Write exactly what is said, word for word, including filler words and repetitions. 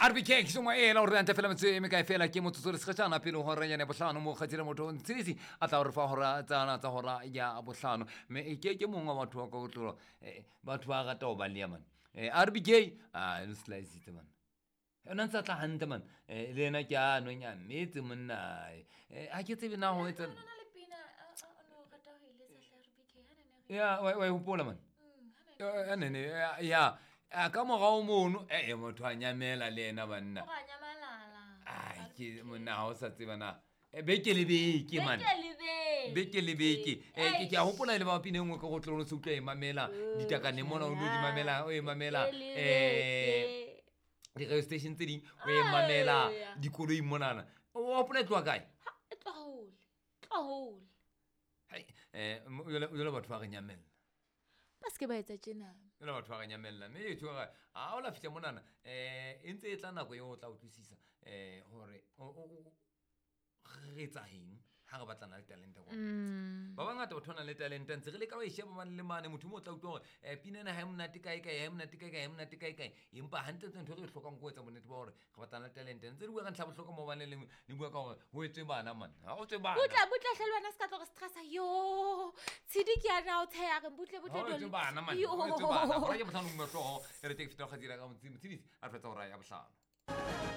R B K ke soma ela hore ante fela motse e mekae fela ke motsotso le sekgetjana pele ho hora ya bohlano mo kgatsile motho Ntshisi a tla re fa hora tsana tsa hora ya bohlano me ke ke mongwe wa batho ba ka go tlola batho ba rata ho ba le man R B K a no slice it man ena ntse tla hantle man le ena ke a nonya metse monna a ke tsebe na ho etsa ya wa wa hopola man ya ne ne ya a ka morao mono eh motho a nyamela le ena banna o nyamalala ai ke monna ha o sa tseba na beke le beke man beke le beke eh ke a hopola le ba pina engwe ka go tlolo se utlwa e mamela ditakane mona o no di mamela o e mamela eh di radio station tse ding o e mamela dikoloi monana o hopola e tloha kae e tloha hole tloha hole hai eh o batho ba re nyamela ba se ke ba etsa tjena le batho ba re nyamella mme e tshwara a o la fihla monana eh e ntse e tla nako eo o tla utlwisisa eh hore re etsa eng ha re batlana le talente kwa ba bangata batho ba nang le talente ntse re leka ho e sheba mane le mane motho mo o tla utlwa hore eh pina ena ha e monate kae kae ha e monate kae kae ha e monate kae kae empa hantle ntho e re e hlokang ke ho etsa bonnete ba hore re batlana le talente ntse re bua ka ntlha bohlokwa mo bane le le bua ka hore ho etswe bana man ha o tswe bana butle butle hle le wena se ka tlo re stressa yo tshidi ke yana o tsheya re butle butle ho etswe bana man ho etswe bana hore ke bohlano mo hlooho e re teke feta kgatsira ka motshidi a re fetsa hora ya bohlano.